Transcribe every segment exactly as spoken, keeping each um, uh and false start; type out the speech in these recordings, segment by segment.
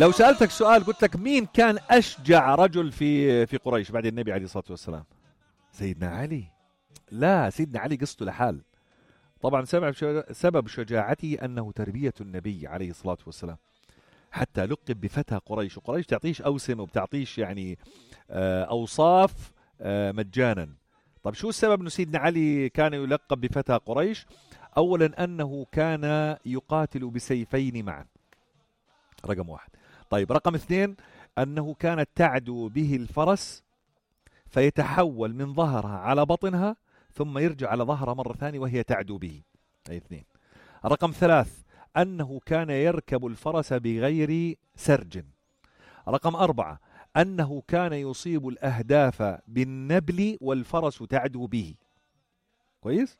لو سألتك سؤال قلت لك مين كان أشجع رجل في في قريش بعد النبي عليه الصلاة والسلام؟ سيدنا علي. لا، سيدنا علي قصته لحال. طبعا سبب شجاعته أنه تربية النبي عليه الصلاة والسلام، حتى لقب بفتى قريش. وقريش تعطيش أوسم وبتعطيش يعني أوصاف مجانا. طب شو السبب أنه سيدنا علي كان يلقب بفتى قريش؟ أولا أنه كان يقاتل بسيفين معا، رقم واحد. طيب رقم اثنين، أنه كانت تعدو به الفرس فيتحول من ظهرها على بطنها ثم يرجع على ظهرها مرة ثانية وهي تعدو به. أي اثنين. رقم ثلاث، أنه كان يركب الفرس بغير سرج. رقم أربعة، أنه كان يصيب الأهداف بالنبل والفرس تعدو به. كويس؟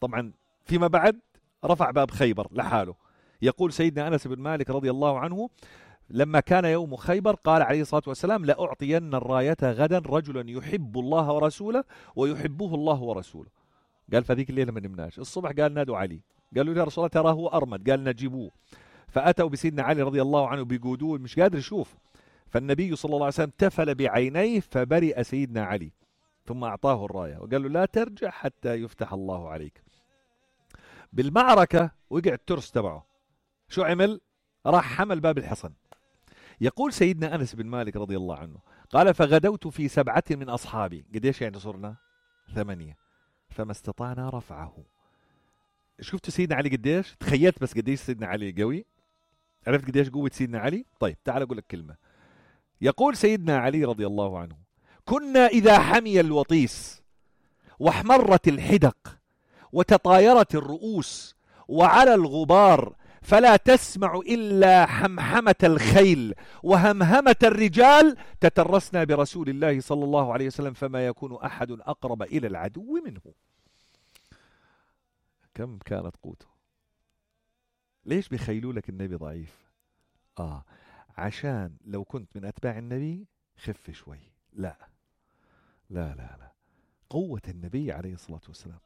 طبعا فيما بعد رفع باب خيبر لحاله. يقول سيدنا أنس بن مالك رضي الله عنه لما كان يوم خيبر قال عليه الصلاة والسلام: لأعطين الراية غدا رجلا يحب الله ورسوله ويحبه الله ورسوله. قال فذيك الليلة ما نمناش. الصبح قال نادوا علي، قالوا يا رسول الله تراه هو أرمد، قال نجيبوه. فأتوا بسيدنا علي رضي الله عنه بيقودوه، مش قادر يشوف. فالنبي صلى الله عليه وسلم تفل بعينيه فبرئ سيدنا علي، ثم أعطاه الراية وقال له لا ترجع حتى يفتح الله عليك. بالمعركة وقع الترس تبعه، شو عمل؟ راح حمل باب الحصن. يقول سيدنا أنس بن مالك رضي الله عنه قال فغدوت في سبعة من أصحابي. قديش يعني صرنا؟ ثمانية. فما استطعنا رفعه. شفت سيدنا علي قديش؟ تخيلت بس قديش سيدنا علي قوي؟ عرفت قديش قوة سيدنا علي؟ طيب تعال أقول لك كلمة. يقول سيدنا علي رضي الله عنه كنا إذا حمي الوطيس واحمرت الحدق وتطايرت الرؤوس وعلى الغبار فلا تسمع إلا حمحمة الخيل وهمهمة الرجال تترسنا برسول الله صلى الله عليه وسلم فما يكون أحد أقرب إلى العدو منه. كم كانت قوته؟ ليش بيخيلوا لك النبي ضعيف؟ آه عشان لو كنت من أتباع النبي خف شوي. لا لا لا لا، قوة النبي عليه الصلاة والسلام.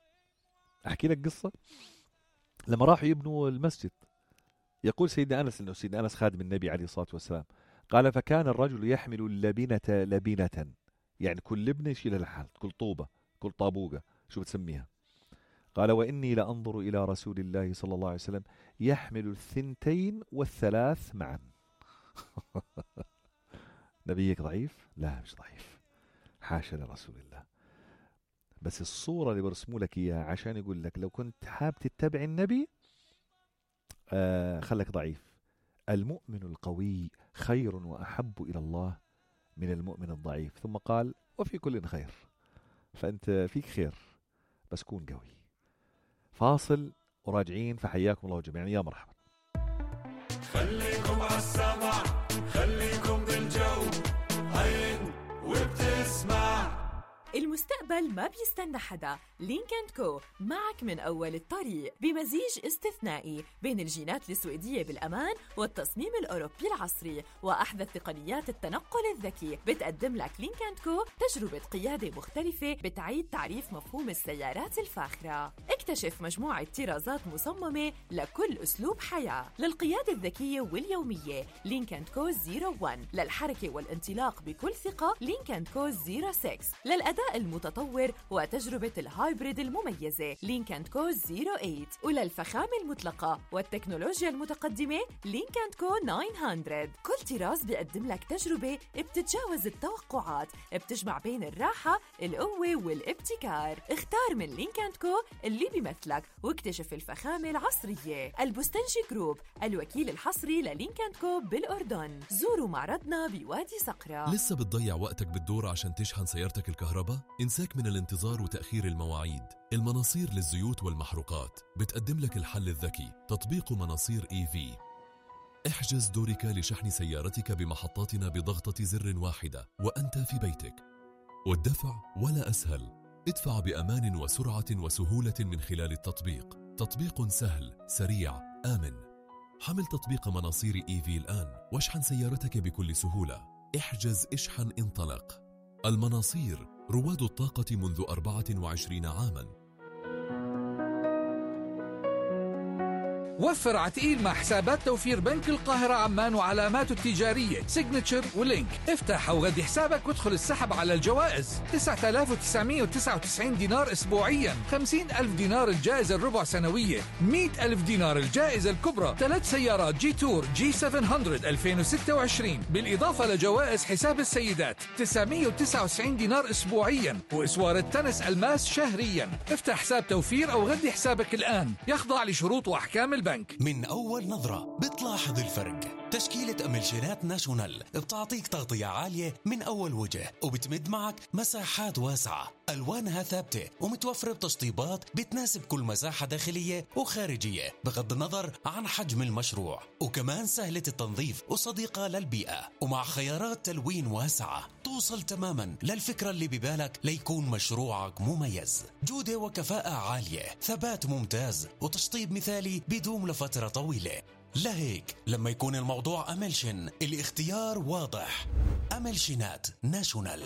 أحكي لك قصة. لما راحوا يبنوا المسجد، يقول سيدنا أنس إنه سيدنا أنس خادم النبي عليه الصلاة والسلام قال فكان الرجل يحمل اللبنة لبنة، يعني كل لبنة يشيلها لحال، كل طوبة كل طابوقة شو بتسميها. قال وإني لأنظر إلى رسول الله صلى الله عليه وسلم يحمل الثنتين والثلاث معا. نبيك ضعيف؟ لا مش ضعيف، حاشا لرسول الله. بس الصورة اللي برسموا لك إياها عشان يقول لك لو كنت حاب تتبع النبي آه خلك ضعيف. المؤمن القوي خير وأحب إلى الله من المؤمن الضعيف. ثم قال وفي كل خير، فأنت فيك خير بس كون قوي. فاصل وراجعين، فحياكم الله جميعا. يا مرحبا. خليكم عالسمع، خليكم بالجو، عين وبتسمع. المستقبل ما بيستنى حدا. لينك أند كو معك من أول الطريق بمزيج استثنائي بين الجينات السويدية بالأمان والتصميم الأوروبي العصري وأحدث تقنيات التنقل الذكي. بتقدم لك لينك أند كو تجربة قيادة مختلفة بتعيد تعريف مفهوم السيارات الفاخرة. اكتشف مجموعة طرازات مصممة لكل أسلوب حياة. للقيادة الذكية واليومية لينك أند كو صفر واحد، للحركة والانطلاق بكل ثقة لينك أند كو صفر ستة، للأداء المتطور وتجربة الهايبريد المميزة لينك أند كو صفر ثمانية، وللفخامة المطلقة والتكنولوجيا المتقدمة لينك أند كو تسعمية. كل طراز بيقدم لك تجربة بتتجاوز التوقعات، بتجمع بين الراحة القوة والابتكار. اختار من لينك أند كو اللي بيمثلك واكتشف الفخامة العصرية. البستنجي جروب الوكيل الحصري للينك أند كو بالأردن. زوروا معرضنا بوادي صقرة. لسه بتضيع وقتك بالدور عشان تشحن سيارتك الكهرباء؟ انساك من الانتظار وتأخير المواعيد. المناصير للزيوت والمحروقات بتقدم لك الحل الذكي، تطبيق مناصير إي في. احجز دورك لشحن سيارتك بمحطاتنا بضغطة زر واحدة وأنت في بيتك، والدفع ولا أسهل. ادفع بأمان وسرعة وسهولة من خلال التطبيق. تطبيق سهل سريع آمن. حمل تطبيق مناصير إي في الآن واشحن سيارتك بكل سهولة. احجز اشحن انطلق. المناصير رواد الطاقة منذ أربعة وعشرين عاماً. وفر عتقيل مع حسابات توفير بنك القاهرة عمان وعلاماته التجارية سيجنتشر ولينك. افتح أو غدي حسابك وادخل السحب على الجوائز. تسعة آلاف وتسعمائة وتسعة وتسعين دينار أسبوعيا، خمسين ألف دينار الجائزة الربع سنوية، مئة ألف دينار الجائزة الكبرى، ثلاث سيارات جي تور جي سبعمائة ألفين وستة وعشرين، بالإضافة لجوائز حساب السيدات تسعمائة وتسعة وتسعين دينار أسبوعيا، وإسوار التنس الماس شهريا. افتح حساب توفير أو غدي حسابك الآن، يخضع لشروط وأحكام البنك. من أول نظرة بتلاحظ الفرق. تشكيلة أملشينات ناشونال بتعطيك تغطية عالية من أول وجه، وبتمد معك مساحات واسعة، ألوانها ثابتة ومتوفرة بتشطيبات بتناسب كل مساحة داخلية وخارجية بغض النظر عن حجم المشروع، وكمان سهلة التنظيف وصديقة للبيئة، ومع خيارات تلوين واسعة توصل تماما للفكرة اللي ببالك ليكون مشروعك مميز. جودة وكفاءة عالية، ثبات ممتاز، وتشطيب مثالي بيدوم لفترة طويلة. لهيك لما يكون الموضوع أملشن الاختيار واضح. أملشنات ناشونال.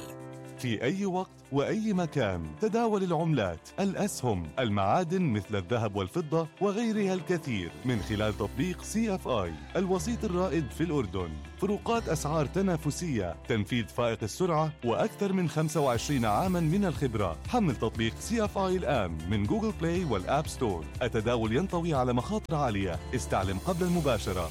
في أي وقت وأي مكان تداول العملات، الأسهم، المعادن مثل الذهب والفضة وغيرها الكثير من خلال تطبيق سي اف آي الوسيط الرائد في الأردن. فروقات أسعار تنافسية، تنفيذ فائق السرعة، وأكثر من خمسة وعشرين عاما من الخبرة. حمل تطبيق سي اف آي الآن من جوجل بلاي والآب ستور. التداول ينطوي على مخاطر عالية، استعلم قبل المباشرة.